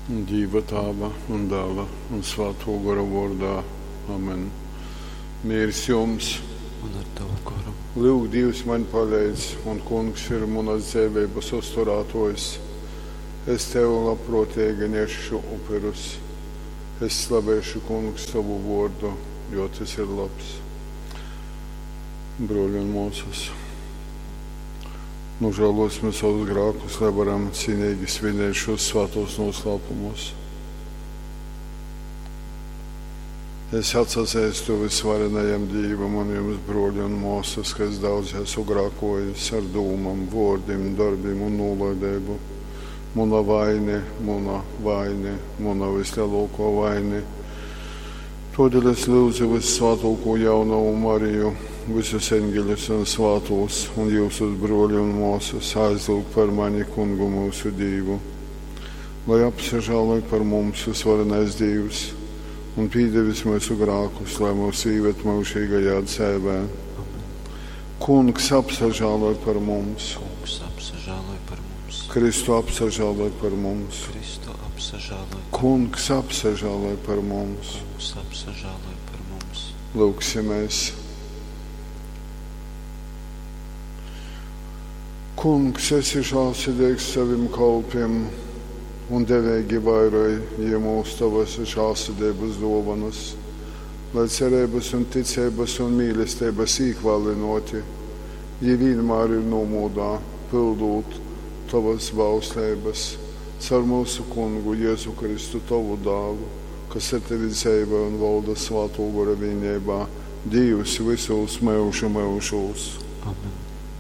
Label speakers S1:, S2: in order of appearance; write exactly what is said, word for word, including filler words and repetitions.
S1: Dīva Tāva un Dāla un Svātō Gora vōrdā. Amen. Mīrs jums!
S2: Un ar tavu goru.
S1: Lyuk, Dīvs maņ paleidz, un Kungs ir munas dzeiveibas uzturātōjs. Es tev labprōteigi nesšu upurus. Es slavēšu, Kungs, tovu vōrdu, jo tys ir labs. Brōļi un mōsas, nožēlosim savus grākus, lai varam cīnīgi svinēt šos svātos noslēpumus. Es atsazeistu visvarenajam Dīvam un jums, brōļi un mōsas, ka es daudz esmu grākojis ar dūmām, vōrdim, darbim un nūlaideibu. Muna vaine, muna vaine, muna vislielākā vaine. Todēļ es lūdzu Vissvātāko jaunavu Mariju, visus eņģeļus un svātos, un jūsus brōļi un mōsas aizlūgt par mani Kungu mūsu Dīvu. Lai apsažāloj par mums visvarenais Dīvs un pīdevis mūsu grākus, lai mūs īved mūžīgajā dzēvē.
S2: Amen.
S1: Kungs apsažāloj par mums.
S2: Kungs apsažāloj par mums.
S1: Kristu apsažāloj par mums.
S2: Kristu apsažāloj.
S1: Kungs apsažāloj par mums.
S2: Kungs apsažāloj par mums.
S1: Lūgsimies. Kungs, esi žēlsirdīgs saviem kalpiem un devīgi vairoj jiem mūsu tavas žēlsirdības dāvanas, lai cerības un ticības un mīlestības īkvalinoti, jī vienmēr ir nomūdā, pildot tavas bausleibas, caur mūsu Kungu Jēzu Kristu, tavu dālu, kas ar tevi dzīvo un valda Svāto Gora vienībā, Dievs visos mūžu mūžos.
S2: Amen.